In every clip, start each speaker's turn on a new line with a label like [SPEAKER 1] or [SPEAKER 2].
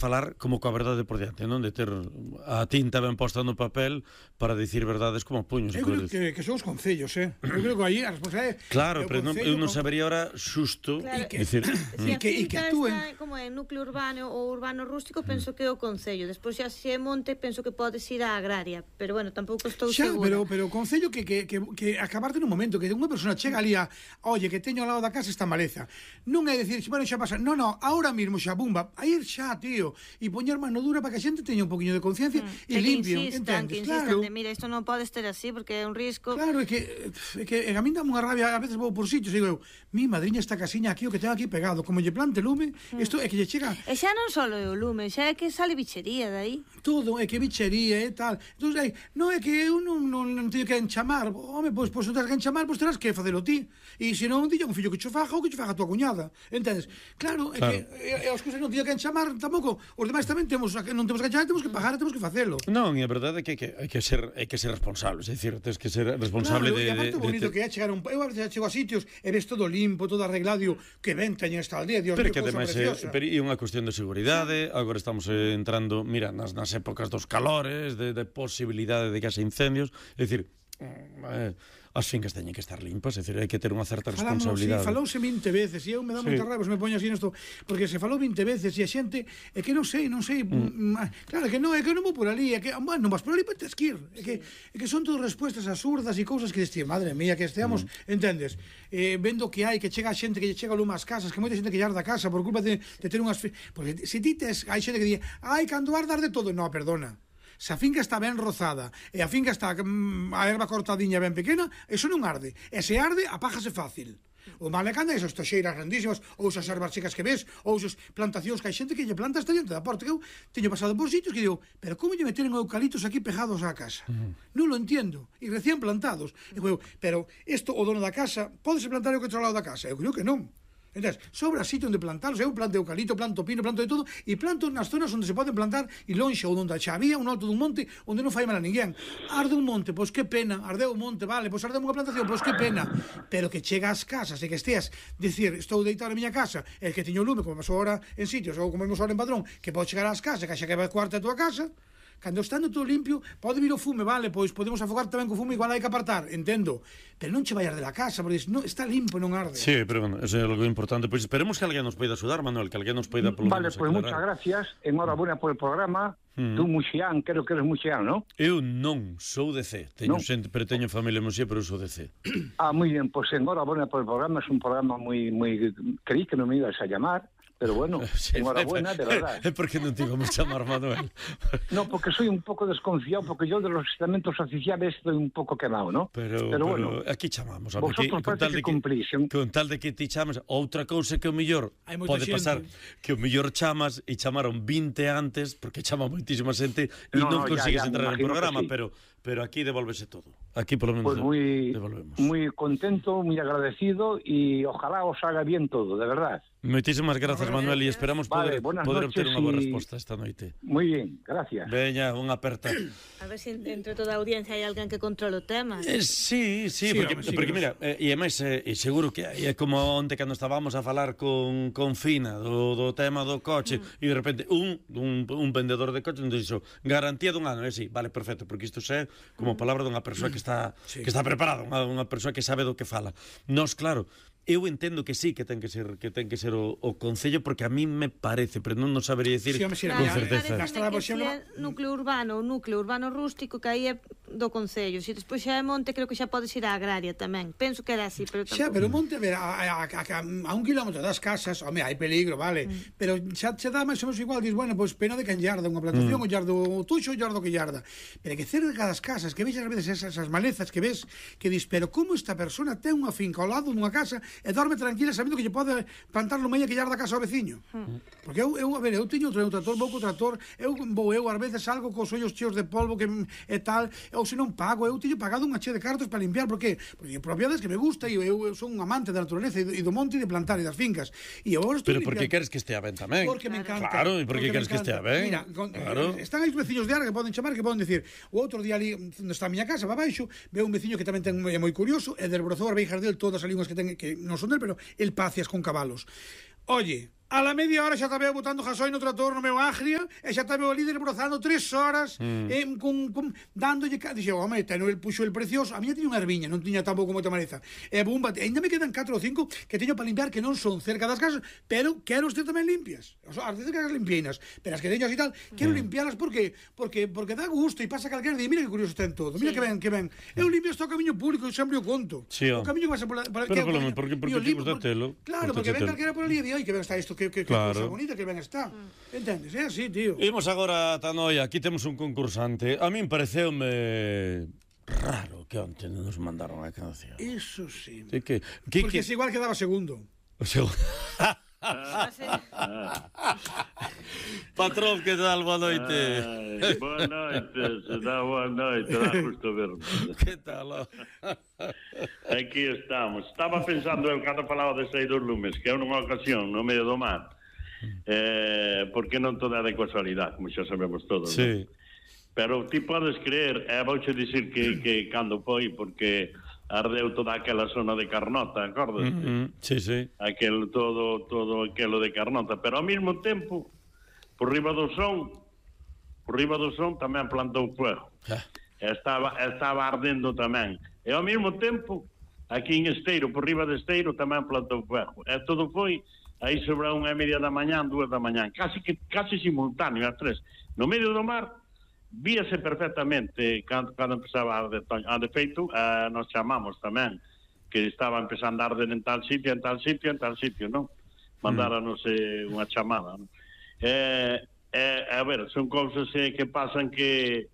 [SPEAKER 1] falar como coa verdade por diante, non? De ter a tinta ben posta no papel para dicir verdades como puños.
[SPEAKER 2] Eu creo que son os concellos, Eu creo que aí a responsabilidade...
[SPEAKER 1] Claro, pero eu non sabería ahora xusto dicir...
[SPEAKER 3] Se a finca está como é núcleo urbano ou urbano rústico, penso que é o concello. Despois xa se é monte, penso que podes ir á agraria. Pero bueno, tampouco estou segura.
[SPEAKER 2] Pero o concello que acabarte nun momento, que unha persona chega ali a, oye, que teño ao lado da casa esta maleza. Non é dicir, bueno, xa pasa. No, ahora mismo xa bumba. A ir xa, tío, e poñer mano dura para que a xente teña un poquinho de conciencia e limpio, entendes?
[SPEAKER 3] Claro. Mira, isto non pode estar así porque é un risco.
[SPEAKER 2] Claro, é que a min dá unha rabia, a veces vou por sitios e digo eu, mi madriña esta casiña aquí o que tengo aquí pegado, como lle plante lume, isto é que lle chega.
[SPEAKER 3] E xa non só é o lume, xa é que sale bichería dai.
[SPEAKER 2] Todo, é que bichería e tal. Entón, non é que eu non teño que enchamar. Home, pois non terás que enchamar, pois terás que facelo ti. E se non, dilla un fillo que cho faja ou que cho faja a tua cuñada. Entendes? Claro, é que as cousas non teño que enchamar tampouco. Os demais tamén non temos que enchamar, temos que pagar e temos que facelo.
[SPEAKER 1] Non, e a verdade é que hai que ser responsable, é dicir, tens que ser responsable de...
[SPEAKER 2] E aparte o bonito que é chegar eu a veces chego a sitios e ves todo limpo, todo arreglado, que ben teñen esta aldea, Dios mío,
[SPEAKER 1] pero que ademais é unha cuestión de seguridade. Agora estamos entrando, mira, nas épocas dos calores, de posibilidade de que haxa incendios, é dicir, as fincas teñen que estar limpas, é dicir, hai que ter unha certa responsabilidade.
[SPEAKER 2] Falouse 20 veces e eu me dá moita raiva se me poño así nesto, porque se falou 20 veces e a xente é que non sei, claro que non vou por ali, é que non vas por ali, tes que ir, é que son todas respuestas absurdas e cousas que destir, madre mía, que esteamos, entendes, vendo que hai, que chega a xente que lle chega lume ás casas, que moita xente que llarda a casa por culpa de ter unhas, porque se ti tes, hai xente que di, cando ardas de todo, non, perdona. Se a finca está ben rozada e a finca está a erva cortadiña ben pequena, eso non arde. E se arde, apájase fácil. O mal é cando esas toxeiras grandísimas, ou esas ervas chicas que ves, ou esas plantacións que hai xente que lle planta hasta diante da porta. Que eu teño pasado por sitios que digo, pero como lle meten eucalitos aquí pegados á casa? Non lo entiendo. E recién plantados. E digo, pero isto o dono da casa, pódese plantar o que outro lado da casa? Eu creo que non. Entón, sobra sitio onde plantalos. Eu planto eucalipto, planto pino, planto de todo, e planto nas zonas onde se poden plantar e lonxe ou onde xa había un alto dun monte onde non fai mal a ninguén. Arde un monte, pois que pena. Ardeu un monte, vale, pois ardeu unha plantación, pois que pena. Pero que chega ás casas e que esteas dicir, estou deitado na miña casa, el que teño lume, como pasou ahora en sitios, ou como vimos ahora en Padrón, que pode chegar ás casas, que xa que vai cuarta a tua casa. Cando estando todo limpio, pode vir o fume, vale, pois podemos afogar tamén co fume, igual hai que apartar, entendo. Pero non che vai arder a casa, porque non está limpo e non arde.
[SPEAKER 1] Sí, pero bueno, eso é algo importante. Pois esperemos que alguén nos poida axudar, Manuel, que alguén nos poida polo
[SPEAKER 4] menos aclarar. Vale, pois muchas gracias, enhorabuena por el programa. Tú Muxián, creo que eres Muxián, ¿no?
[SPEAKER 1] Eu non, sou de C. Pero teño familia en Muxián, pero eu sou de C.
[SPEAKER 4] Muy bien, pues enhorabuena por el programa. Es un programa muy... Creí que no me ibas a llamar. Pero bueno, enhorabuena, de verdad.
[SPEAKER 1] ¿Por qué no te íbamos a llamar, Manuel?
[SPEAKER 4] No, porque soy un poco desconfiado, porque yo de los estamentos oficiales estoy un poco quemado, ¿no?
[SPEAKER 1] Pero bueno, aquí chamamos.
[SPEAKER 4] Vosotros parece que cumplís.
[SPEAKER 1] Con tal de que ti chamas, outra cousa que o mellor pode pasar, que o mellor chamas e chamaron 20 antes, porque chama moitísima xente e non consigues entrar no programa, pero aquí devolvese todo. Aquí por lo menos devolvemos.
[SPEAKER 4] Muy contento, muy agradecido y ojalá os haga bien todo, de verdad.
[SPEAKER 1] Moitísimas grazas, Manuel, e esperamos poder obter unha boa resposta esta noite.
[SPEAKER 4] Moi bien, gracias.
[SPEAKER 1] Veña, unha aperta.
[SPEAKER 3] A ver se entre toda a audiencia hai alguén que controle o tema.
[SPEAKER 1] Sí, porque mira, e ademais, seguro que é como onte cando estábamos a falar con Fina do tema do coche, e de repente un vendedor de coches nos dixo, garantía dun ano, sí, vale, perfecto, porque isto é como palabra dunha persoa que está preparada, unha persoa que sabe do que fala. Nos, claro, eu entendo que sí, que ten que ser o concello, porque a mí me parece, pero non sabería dicir con certeza.
[SPEAKER 3] Núcleo urbano ou núcleo urbano rústico, que aí é do concello. Se despois xa é monte, creo que xa podes ir á agraria tamén. Penso que era así, pero tampouco.
[SPEAKER 2] Xa, pero monte, a ver, a 1 kilómetro das casas, home, hai peligro, vale, pero xa dá máis ou menos igual, dis, bueno, pois pena de quen yarda unha plantación, o yardo o tuxo, o yardo que yarda. Pero que cerca das casas, que vexas a veces esas malezas que ves, que dis, pero como esta persona ten unha finca ao lado dunha casa e dorme tranquila sabendo que lle pode plantar no medio que llar da casa ao veciño. Porque eu teño outro trator, vou co trator, eu ás veces salgo cos ollos cheos de polvo que e tal, ou se non pago, eu teño pagado unha chea de cartos para limpiar, porque propiedades que me gusta e eu son un amante da naturaleza e do monte e de plantar e das fincas. E agora estou
[SPEAKER 1] pero porque queres que estea ben tamén.
[SPEAKER 2] Porque me encanta.
[SPEAKER 1] Claro, e porque queres que estea ben.
[SPEAKER 2] Mira, están aí os veciños de Arga que poden chamar, que poden decir, o outro día ali onde está a miña casa, va baixo, veo un veciño que tamén é moi curioso, e desbrozou as veijas del todas as linguas que ten, que non son del, pero el pacias con cabalos. Oye, A la media hora xa estaba botando gasoil no trator no meu Agria e xa estaba o líder brozando 3 horas dándolle... Dixe, home, el puxo el precioso. A miña tiña unha erviña, non tiña tampouco moita maleza. E bumba, ainda me quedan 4 ou 5 que teño para limpiar, que non son cerca das casas, pero quero este tamén limpias. O sea, as de casas limpieinas, pero as que teño así tal, quero limpialas porque dá gusto e pasa calquera día, mira que curioso ten todo. Mira que ben. Eu limpio este camiño público e sempre o conto. O camiño que vas a por
[SPEAKER 1] porque te gusta telo.
[SPEAKER 2] Claro, porque ven calquera por ali e di, ai, que ben está isto, que cosa bonita, que ben está. Entendes? É así, tío.
[SPEAKER 1] Imos agora a Tanoia, aquí temos un concursante. A min pareceume raro que onte nos mandaron a canción.
[SPEAKER 2] Eso sí.
[SPEAKER 1] Porque
[SPEAKER 2] es igual que daba segundo.
[SPEAKER 1] O segundo. Patrón, que tal? Boa noite.
[SPEAKER 5] Boa noite, se dá boa noite, dá gusto verme.
[SPEAKER 1] Que tal?
[SPEAKER 5] Aquí estamos. Estaba pensando eu cando falaba de Sei dos Lumes, que é nunha ocasión no medio do mar, porque non toda é de casualidade, como xa sabemos todos.
[SPEAKER 1] Sí.
[SPEAKER 5] ¿no? Pero ti podes creer, vouche dicir que cando foi, porque ardeu toda aquela zona de Carnota, acordas?
[SPEAKER 1] Sí.
[SPEAKER 5] Todo aquilo de Carnota, pero ao mesmo tempo, por riba do son tamén plantou fuego. Estaba ardendo tamén. E ao mesmo tempo, aquí en Esteiro, por riba de Esteiro, tamén plantou fuego. E todo foi aí sobre a 1:30 da mañá, 2 da mañá, casi simultáneo, a 3. No medio do mar, víase perfectamente cando empezaba a arder. De feito, nos chamamos tamén, que estaba empezando a arder en tal sitio, non? Mandáranos unha chamada, non? A ver, son cousas que pasan que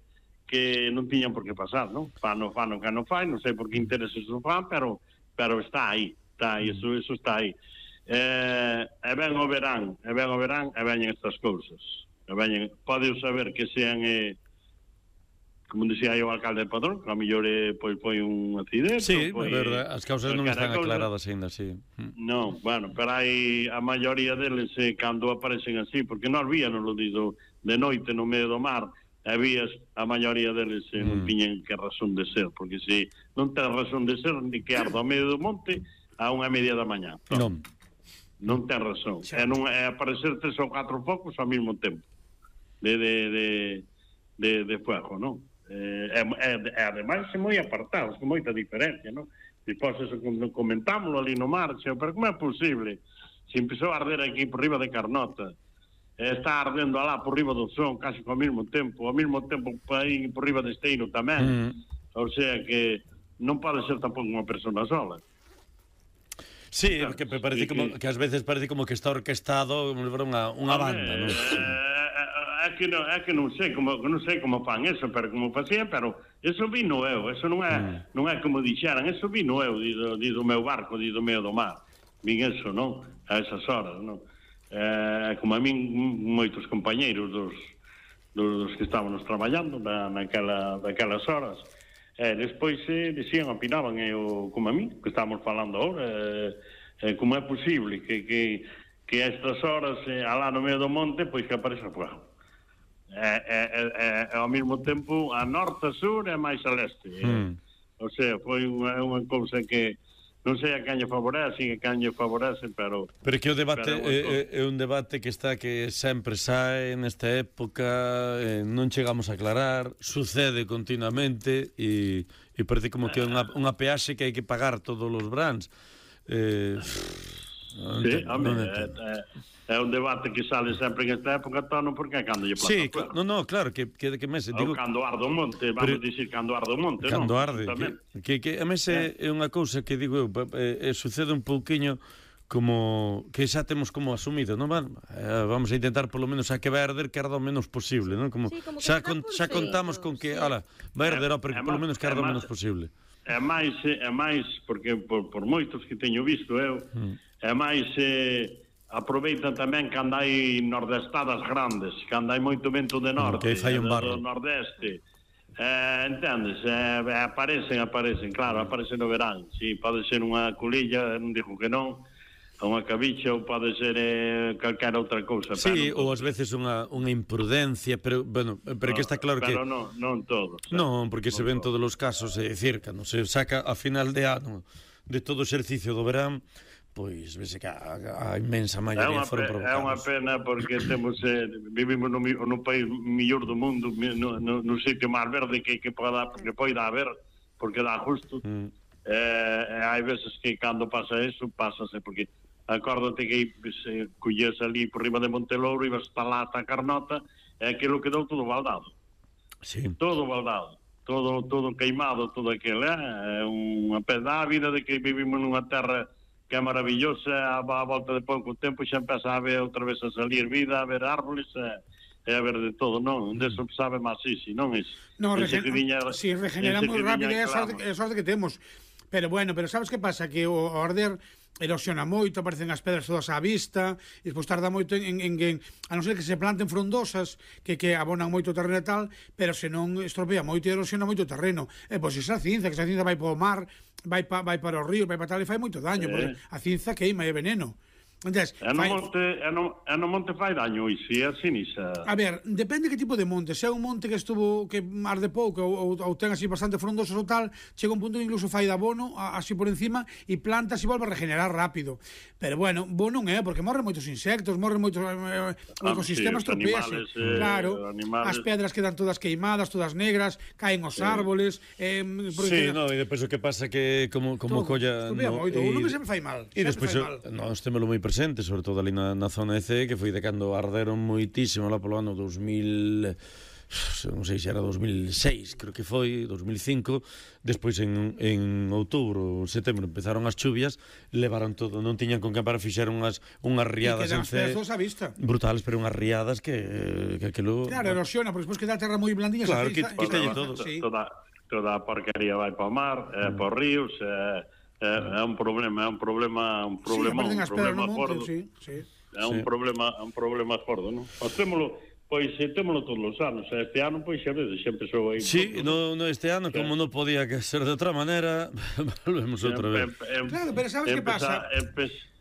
[SPEAKER 5] non tiñan por que pasar, non? Fan que non fai, non sei por que intereses o fan, pero está aí, eso está aí. E ben o verán, e veñen estas cousas. Pode saber que sean... como dicía o alcalde de Padrón, que a mellor foi un accidente.
[SPEAKER 1] Sí, é verdade, as causas non están aclaradas ainda, sí.
[SPEAKER 5] Non, bueno, pero hai a maioría deles cando aparecen así, porque non víanos lo dido de noite no medio do mar, habías a maioría deles non tiñen que razón de ser, porque se non ten razón de ser, ni que ardo ao medio do monte a 1:30 da mañá. Non ten razón. É aparecer 3 ou 4 focos ao mesmo tempo de fuego, non? Ademais é moi apartados, con moita diferencia, non? Depois eso comentámoslo ali no mar, pero como é posible? Se empezou a arder aquí por riba de Carnota, está ardendo alá por riba do Son casi ao mesmo tempo aí por riba de Esteiro tamén, o sea que non pode ser tampouco unha persona sola.
[SPEAKER 1] Sí, porque parece como que ás veces parece como que está orquestado unha banda, non?
[SPEAKER 5] É que non sei como fan eso, pero como facían, pero eso vino eu, eso non é como dixeran, eso vino eu do meu barco, do medio do mar. Vin eso, non? A esas horas, non? Como a min moitos compañeiros dos que estábamos traballando naquelas horas. Despois dicían, opinaban como a min, que estábamos falando agora, como é posible que a estas horas alá no medio do monte pois que apareça fuego. Ao mesmo tempo a norte, a sur e máis a leste. O sea, foi unha cousa que non sei a quen lle favorece, pero
[SPEAKER 1] que o debate é un debate que sempre sae nesta época, non chegamos a aclarar, sucede continuamente e parece como que é unha peaxe que hai que pagar todos os brans.
[SPEAKER 5] É un debate que sale sempre en esta época, tono, porque cando lle plata.
[SPEAKER 1] Sí, claro, que mese, digo,
[SPEAKER 5] cando arde o monte, vamos dicir cando arde o monte, non?
[SPEAKER 1] Cando arde, que a mese é unha cousa que digo eu, sucede un pouquiño como que xa temos como asumido, non? Vamos a intentar polo menos a que vai arder que arda o menos posible, non? Como xa contamos con que, vai arder, pero polo menos que arda o menos posible.
[SPEAKER 5] É máis, porque por moitos que teño visto eu, é máis... aproveitan tamén cando hai nordestadas grandes, cando hai moito vento de norte, do nordeste, entendes? Aparecen, claro, aparecen no verán. Si pode ser unha culilla, non digo que non, unha cabicha, ou pode ser calquera outra cousa.
[SPEAKER 1] Sí, ou ás veces unha imprudencia, pero que está claro que...
[SPEAKER 5] Pero non todo.
[SPEAKER 1] Non, porque se ven todos os casos, é dicir, cando se saca a final de ano de todo o exercicio do verán, pois vese que a inmensa maioría foron provocados.
[SPEAKER 5] É unha pena porque vivimos no país mellor do mundo, no sitio máis verde que poida haber, porque dá justo. Hai veces que cando pasa eso, pásase, porque acórdate que se collese ali por riba de Montelouro, ibas hasta lá, hasta Carnota, e aquilo quedou todo baldado.
[SPEAKER 1] Sí.
[SPEAKER 5] Todo baldado. Todo queimado, todo aquilo, é unha pena a vida de que vivimos nunha terra que é maravillosa, a volta de pouco tempo xa empeza a ver outra vez a salir vida, a ver árboles, e a ver de todo, non? Deso sabe máis isi, non?
[SPEAKER 2] Si regeneramos rápido é a sorte que temos. Pero bueno, sabes que pasa? Que o arder erosiona moito, aparecen as pedras todas á vista, e despois tarda moito en a non ser que se planten frondosas que abonan moito o terreno e tal, pero se non estropea moito e erosiona moito o terreno. E pois esa cinza vai para o mar, vai para o río, vai para tal, e fai moito daño, porque a cinza queima e veneno. Entonces,
[SPEAKER 5] no monte fai daño e se é sinisa.
[SPEAKER 2] A ver, depende que tipo de monte. Se é un monte que arde pouco ou ten así bastante frondosos ou tal, chega un punto que incluso fai de abono así por encima e plantas e volve a regenerar rápido. Pero bueno, bo non é, porque morren moitos insectos, morren moitos ecosistemas, tropease. Claro, as pedras quedan todas queimadas, todas negras, caen os árboles.
[SPEAKER 1] Sí, no, e depois o que pasa que como colla...
[SPEAKER 2] O lume sempre fai mal.
[SPEAKER 1] E despois nós témolo moi presente, sobre todo ali na zona EC, que foi de cando arderon moitísimo lá polo ano 2000, non sei se era 2006, creo que foi 2005. Despois en outubro, setembro empezaron as chuvias, levaron todo, non tiñan con que parar, fixeron unhas riadas en C brutales, pero unhas riadas que aquilo...
[SPEAKER 2] Claro, erosiona, porque despois queda a terra moi blandinha.
[SPEAKER 1] Claro, quitalle todo.
[SPEAKER 5] Toda a porquería vai para o mar, para os ríos, é un problema gordo. É un problema gordo, non? Témolo todos os anos. Este ano, pois, xa vedes, xa empezou aí.
[SPEAKER 1] Sí, este ano, como non podía ser de outra maneira, volvemos outra vez.
[SPEAKER 2] Claro, pero sabes que pasa?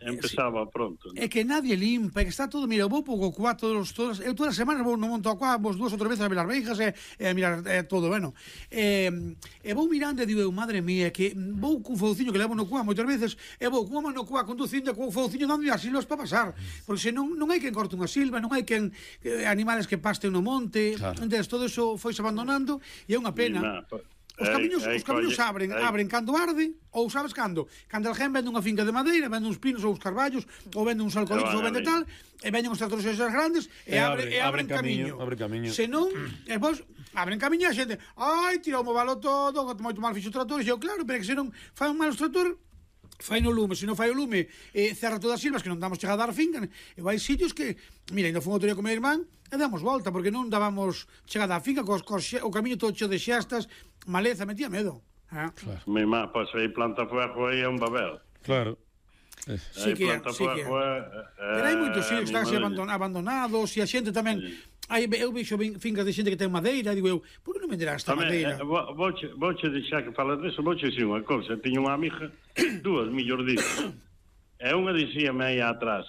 [SPEAKER 5] Empezaba pronto.
[SPEAKER 2] É que nadie limpa, é que está todo, mira, eu vou pouco coa todas as semanas vou no monto a coa, vos 2 ou 3 veces a ver as beijas e a mirar todo, bueno. E vou mirando e digo, madre mía, que vou cun fouciño que levo no coa moitas veces, e vou cunha mano no coa conducindo cun fouciño dando as silvas para pasar, porque se non hai quen corte unha silva, non hai quen animales que pasten no monte, entonces todo eso foise abandonando e é unha pena. Os camiños abren cando arde, ou sabes cando? Cando alguén vende unha finca de madeira, vende uns pinos ou uns carballos, ou vende uns alcoholitos, ou vende tal, e venden os tractores esas grandes, e abren camiño. Se non, e pois, abren camiño e a xente, tirou o valo todo, moito mal fixo o trator, e eu, claro, pero que se non fai un mal os trator, fai no lume, se non fai o lume, cerra todas as silvas que non damos chegada a dar finca, e vai sitios que, mira, ainda fun outro día con meu irmán, e damos volta, porque non dábamos chegada a finca, o camiño todo cheo de xestas, maleza, metía medo.
[SPEAKER 5] Mi má, pois aí planta fuego aí é un babel.
[SPEAKER 1] Claro.
[SPEAKER 2] Sí que é. Pero hai moitos sitios que están abandonados, e a xente tamén... Eu vexo fincas de xente que ten madeira, digo eu, por que non venderá esta madeira?
[SPEAKER 5] Vouche deixar que falas deso, vouche dicir unha cousa. Tiño unha amiga, 2, mellor dito, e unha dicíame aí atrás,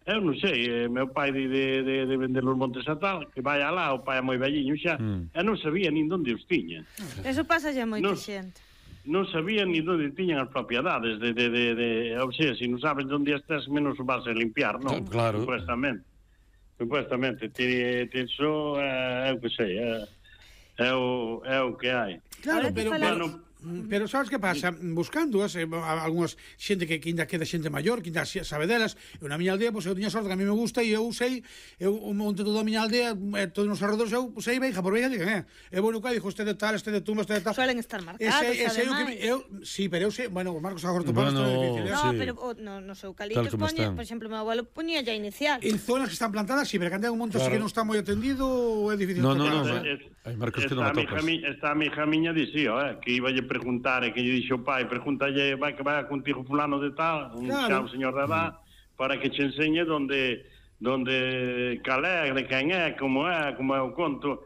[SPEAKER 5] eu non sei, meu pai de vender os montes a tal, que vai alá, o pai é moi velliño xa, e non sabía nin onde os tiña.
[SPEAKER 3] Eso pasa xa moita xente.
[SPEAKER 5] Non sabía ni onde tiñan as propiedades, ou sea, se non sabes onde estás, menos o vas a limpiar, non?
[SPEAKER 1] Claro.
[SPEAKER 5] Supuestamente, iso é o que sei, é o que hai.
[SPEAKER 2] Claro, pero sabes que pasa? Buscando algunhas xente que ainda queda xente maior, que ainda sabe delas, eu na miña aldea, eu tiña sorte que a mí me gusta e eu sei, eu monte toda a miña aldea, todos os arredores, eu sei beixa por beixa, digan, vou no cá, dixo, este de tal, este de tumba, este de tal.
[SPEAKER 3] Suelen estar marcados, ademais.
[SPEAKER 2] Sí, pero eu sei, bueno, os marcos agora topados
[SPEAKER 3] é difícil. No, pero nos eucaliptos poña, por exemplo, meu abuelo poñía ya inicial.
[SPEAKER 2] En zonas que están plantadas, sí, pero cando hai un monte así que non está moi atendido, é difícil tocar.
[SPEAKER 1] No, hai marcos que non topas.
[SPEAKER 5] Esta amiga miña dicía, que iba preguntar, que lle dixo o pai, pregúntalle, vai que vai contigo fulano de tal, un señor de edad, para que che enseñe donde calegre, quen é, como é o conto.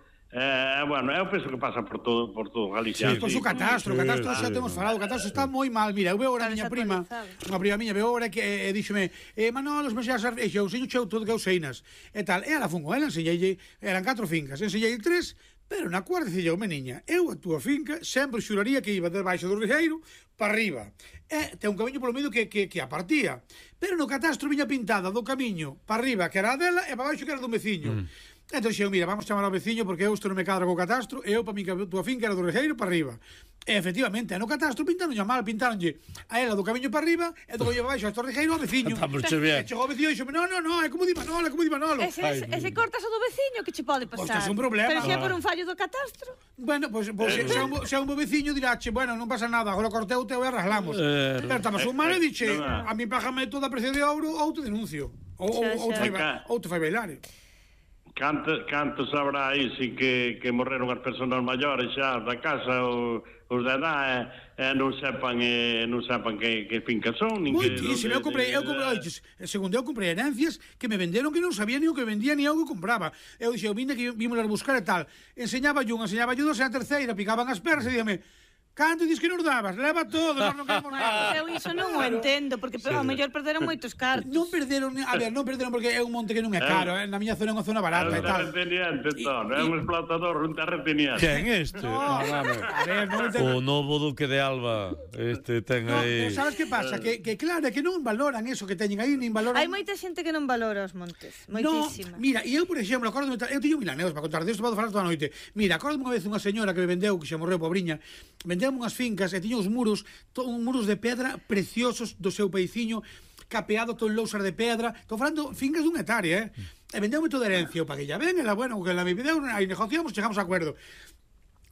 [SPEAKER 5] Bueno, eu penso que pasa por todo Galicia.
[SPEAKER 2] Sí, pois o catastro xa temos falado, o catastro está moi mal. Mira, eu veo ahora a miña prima, unha prima miña, veo ahora que díxome, Manolo, os meses e eu enseño todo que eu seinas, e tal, e ela fun con ela, enseñei, eran 4 fincas, enseñei 3, Pero na cuarta dicía, niña, eu a túa finca sempre xuraría que iba debaixo do regueiro para arriba. E ten un camiño polo medio que a partía. Pero no catastro viña pintada do camiño para arriba, que era a dela, e para baixo, que era do veciño. Entón xeo, mira, vamos chamar ao veciño porque eu isto non me cadra co catastro, e eu para mí que a túa finca era do regueiro para arriba. E efectivamente, no catastro pintaronlle mal, pintaronlle a ela do camiño para arriba e do camiño para baixo a este regueiro ao veciño. E chegou o veciño e dixo, no, é como di Manolo, é como di Manolo.
[SPEAKER 3] E se cortas o do veciño, que che pode pasar?
[SPEAKER 2] Pois é un problema.
[SPEAKER 3] Pero se é por un fallo do catastro.
[SPEAKER 2] Bueno, pois se é un bo veciño diráche, bueno, non pasa nada, agora cortei o teu e arreglamos. Pero estamos un mal e dixe, a mí págame toda a precio de ouro ou te denuncio. Ou te fai bailar.
[SPEAKER 5] Cantos habrá aí si que morreron as persoas maiores xa da casa os de edad non sepan que finca son
[SPEAKER 2] Moitísimo, eu comprei segundo eu comprei herencias que me venderon que non sabía ni o que vendía ni o que compraba. Eu dixo, vinde que vimos a buscar e tal, enseñaba dos e a terceira picaban as perras e díame, canto dis que nos dabas? Leva todo, nós non queremos nada.
[SPEAKER 3] Eu iso non o entendo, porque ao mellor perderon moitos cartos.
[SPEAKER 2] Non perderon porque é un monte que non é caro, na miña zona é unha zona barata e tal.
[SPEAKER 5] É un explotador, un terrateniente.
[SPEAKER 1] Quen este? O novo duque de Alba, ten aí...
[SPEAKER 2] Sabes que pasa? Que claro, que non valoran eso que teñen aí, nin valoran...
[SPEAKER 3] Hai moita xente que non valora os montes, moitísima.
[SPEAKER 2] Mira, e eu, por exemplo, acórdome, eu teño milaneos para contar desto, vou falar toda a noite. Mira, acórdome unha vez unha señora que me vendeu, que xa morreu pobriña, vendeu unhas fincas e tiña uns muros de pedra preciosos do seu paiciño, capeado con lousas de pedra. Estou falando fincas dun hectárea, e vendeu moito de herencia, o paguei ya ben, ela, bueno, que la me vendeu, aí negociamos, chegamos a acuerdo.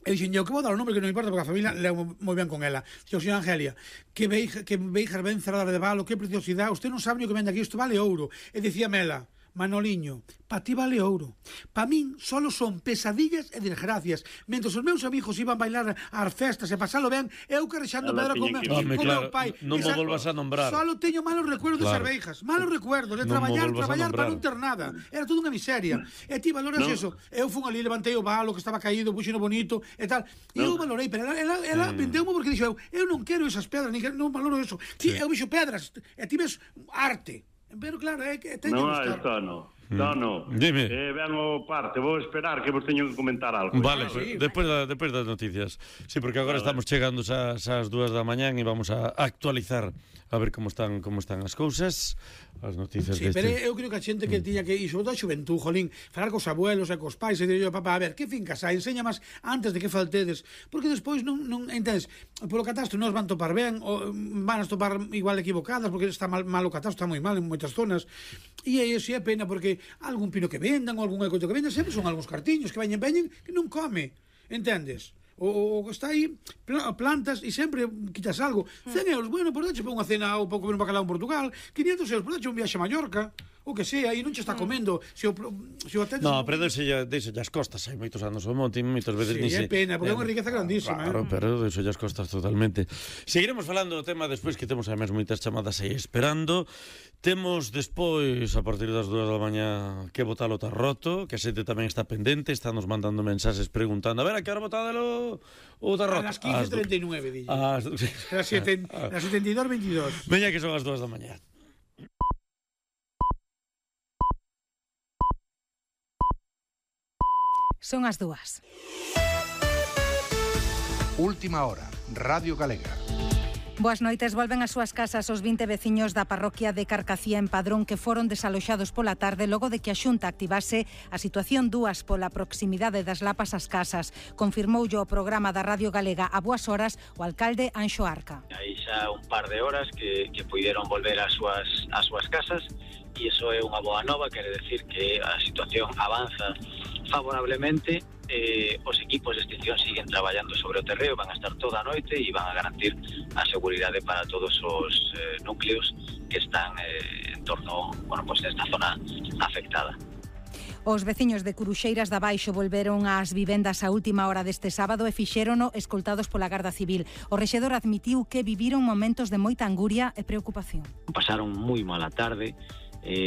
[SPEAKER 2] E dixen, eu que vou dar o nombre que non importa porque a familia leo moi ben con ela. Dixo, señora Angelia, que veixas ben cerrada de valo, que preciosidade, usted non sabe o que vende aquí, isto vale ouro. E dicíame ela, Manoliño, pa ti vale ouro. Pa min solo son pesadillas e desgracias. Mentre os meus amigos iban bailar ás festas e pasalo ben, eu carrexando pedra con meu pai.
[SPEAKER 1] Non me volvas a nombrar.
[SPEAKER 2] Solo teño malos recuerdos de Cerveijas, malos recuerdos de traballar para non ter nada. Era todo unha miseria. E ti valoras eso? Eu fun ali, levantei o valo que estaba caído, puxeno bonito e tal. E eu valorei, pero ela vendeu-me porque dixo, eu non quero esas pedras, non valoro eso. Ti, eu vexo pedras, e ti ves arte. Pero claro, é que teño que buscar.
[SPEAKER 5] No.
[SPEAKER 1] Dime.
[SPEAKER 5] Ben o parte, vou esperar que vos teño que comentar algo.
[SPEAKER 1] Vale, despois das noticias. Sí, porque agora estamos chegando ás 2 da mañán e vamos a actualizar a ver como están as cousas, as noticias
[SPEAKER 2] deste. Sí, pero eu creo que a xente que tiña que ir, sobre todo a xuventud, jolín, falar cos abuelos e cos pais, e digo, papá, a ver, que fincas hai? Enseña máis antes de que faltedes, porque despois non entendes, polo catastro non os van topar ben, ou van a topar igual equivocadas, porque está mal o catastro, está moi mal en moitas zonas, e aí é pena, porque algún pino que vendan, ou algún coito que vendan, sempre son algúns cartiños que veñen que non come, entendes? O está aí, plantas e sempre quitas algo. 100 euros, bueno, por dache para unha cena ou para comer un bacalao en Portugal, 500 euros por dache un viaxe a Mallorca, o que sea, e non che está comendo. Se o atendes...
[SPEAKER 1] No, pero deixe as costas, hai moitos anos o monte, moitas veces
[SPEAKER 2] ni se... Sí, é pena, porque é unha riqueza grandísima.
[SPEAKER 1] Claro, pero deixe as costas totalmente. Seguiremos falando do tema despois, que temos además moitas chamadas aí esperando. Temos despois, a partir das 2 da mañá, que botar o tarroto, que a xente tamén está pendente, está nos mandando mensaxes preguntando, a ver, a que hora botadelo o tarroto?
[SPEAKER 2] A las 15:39, dille. A las 72:22.
[SPEAKER 1] Veña que son as 2 da mañá.
[SPEAKER 6] Son as 2.
[SPEAKER 7] Última hora, Radio Galega.
[SPEAKER 6] Boas noites, volven ás súas casas os 20 veciños da parroquia de Carcacía en Padrón que foron desaloxados pola tarde logo de que a Xunta activase a situación 2 pola proximidade das lapas ás casas. Confirmoulle o programa da Radio Galega a boas horas o alcalde Anxo Arca.
[SPEAKER 8] Hai xa un par de horas que puideron volver ás súas casas e iso é unha boa nova, quere decir que a situación avanza favorablemente. Os equipos de extinción siguen traballando sobre o terreo, van a estar toda a noite e van a garantir a seguridade para todos os núcleos que están en torno, nesta zona afectada.
[SPEAKER 6] Os veciños de Curuxeiras da Baixo volveron ás vivendas a última hora deste sábado e fixérono escoltados pola Garda Civil. O rexedor admitiu que viviron momentos de moita anguria e preocupación.
[SPEAKER 8] Pasaron moi mala tarde,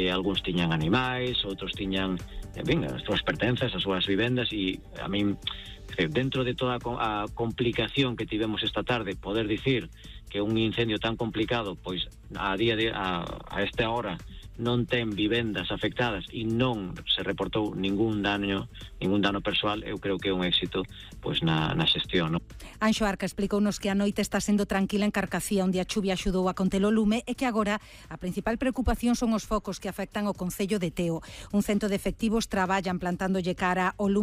[SPEAKER 8] algúns tiñan animais, outros tiñan as súas pertenzas, as súas vivendas, e a min, dentro de toda a complicación que tivemos esta tarde, poder dicir que un incendio tan complicado, pois a esta hora non ten vivendas afectadas e non se reportou ningún dano persoal, eu creo que é un éxito pois na xestión, non?
[SPEAKER 6] Anxo Arca explicounos que a noite está sendo tranquila en Carcacía, onde a chuvia axudou a conter o lume e que agora a principal preocupación son os focos que afectan o concello de Teo. Un cento de efectivos traballan plantándolle cara ao lume